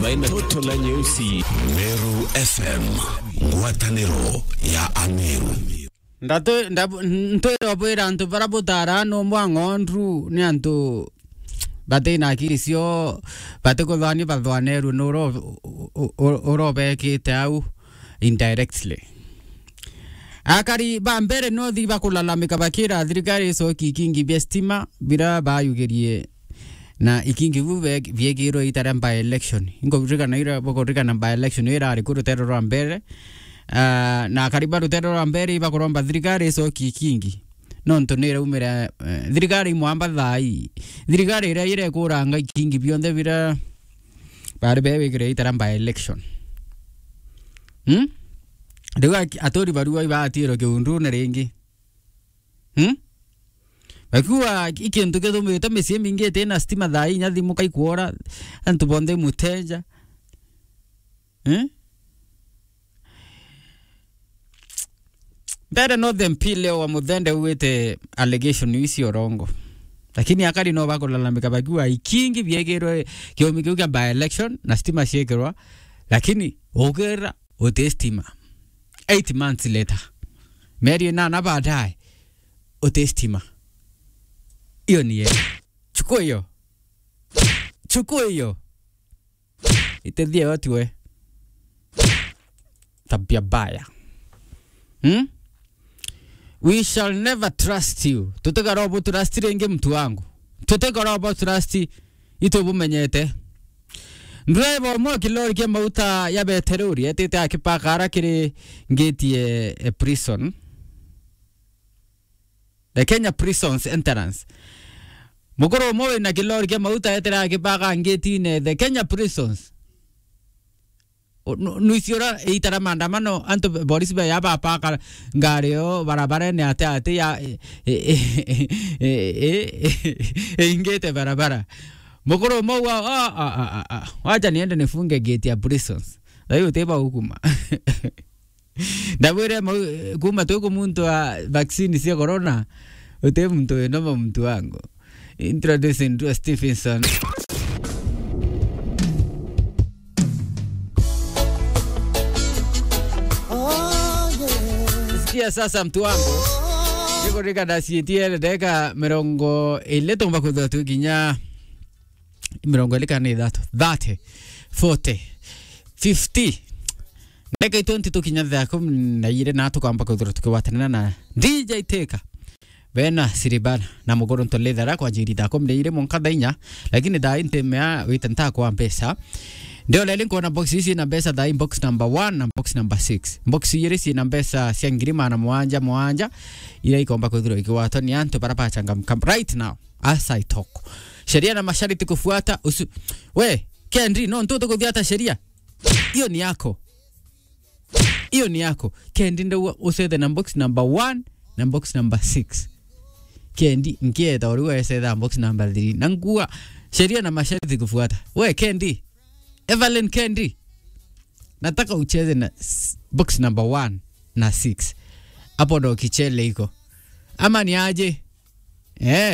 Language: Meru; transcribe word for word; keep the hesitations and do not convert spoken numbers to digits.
Toto la nyeusi. Meru F M, ngwataniro ya Ameru. Ndatu-, ndabu-, ntwira bwira antu bara butara no mwa ng'ondu ni antu batina akiri cio, batikuthwani bathwanerwe ni uro-, u-, u-, u-, urobekite au indirectly. Akari ba mbere nothi bakulalamika bakira thirikari icoki ikingi bia stima bira bayugirie na ikingi bu be-, biekirwe ita ria by election. Inkuririkana ira, bukuririkana by election irari ku rutero rwa mbere. Ah, na akari ba rutero rwa mbere ibakuromba thirikari icoki ikingi. Nontu ni iraumira, eh, thirikari imwamba thai. Thirikari iria irekuranga ikingi bionthe bira bari bewikire ita ria by election. Hmm? Riu aki-, aturi barua ibatirwe kiundune ringi. Hmm? Bakiuga i kintu githumite micii mingi itina stima thaa inya thimu kaikwora, antu bonthe muteja. Hmm? Mbere no the M P leo wa Muthende ugite allegation ici urongo. Lakini akari no bakulalamika bakiuga ikingi biekirwe kiumi kiu kia by election na stima ciekirwa, lakini ukira uti stima. Eight months later. Mieri inana baadaye, uti stima. Hiyo ni yeye. Chukua hiyo. Chukua hiyo. Itethie yo tiwe. Tabia mbaya. Hmm? We shall never trust you. Tutigara ubu trust ringi, mtu wangu. Tutigara ubu trust. Itubumenyete. Driver umwe wa kilori kia mauta ya beterori etite akipaka ara kiri ngeti e, e prison. The Kenya Prisons entrance. Mukuru umwe wina kilori kia mauta etire akipaka ngetine the Kenya Prisons. O, nu-, nuisi ura iita ria maandamano, antu, polisi baya bapaka ngari yo barabarene ate ate ya, e, e, e, ingite barabara. Mukuru umwe wa, a, a, a, a, a, wacha niende nifunge gate ya Prisons. Thayu utiba ukuma. Ndabwire mau, kuma twi kumuntua vaccine cia corona, uti muntu winoma, muntu wangu. Introducing to Stevenson. Sikia sasa, mtu wangu. Nikuririkana cietie ndagika mirongo iri tumba kwithirwa twi kinya mirongo iri kana ithatu, thirty, forty, fifty. Ndagika i twenty tukinya thaa kumi na iri na tukamba kwithirwa tukigwatanira na D J Teka. Bena Siribana na Muguru Ntolethera kwanjiri thaa kumi na iri mwanka thaa inya, lakini thaa ii ntimea wite ntakwa mbeca. Ndio leli nkuona box ici na mbeca thaa ii, box number one na box number six. Box iri ci na mbeca cia ngiri magana mwanja mwanja, ira ikomba kwithirwa ikigwatwa ni antu bara bachangamka right now. As I talk. Sheria na masharti kufuata, usu-, we, Kendi, no ntu tukuthiata sheria. Hiyo ni yako. Hiyo ni yako. Kendi ndio usethe na box number one na box number six. Kendi, nkieta uriu esetha box number three. Na ngua, sheria na masharti kufuata. We, Kendi. Evelyn Kendi. Nataka ucheze na s-, box number one na six. Hapo ndo kichele iko. Ama ni aje? Eh.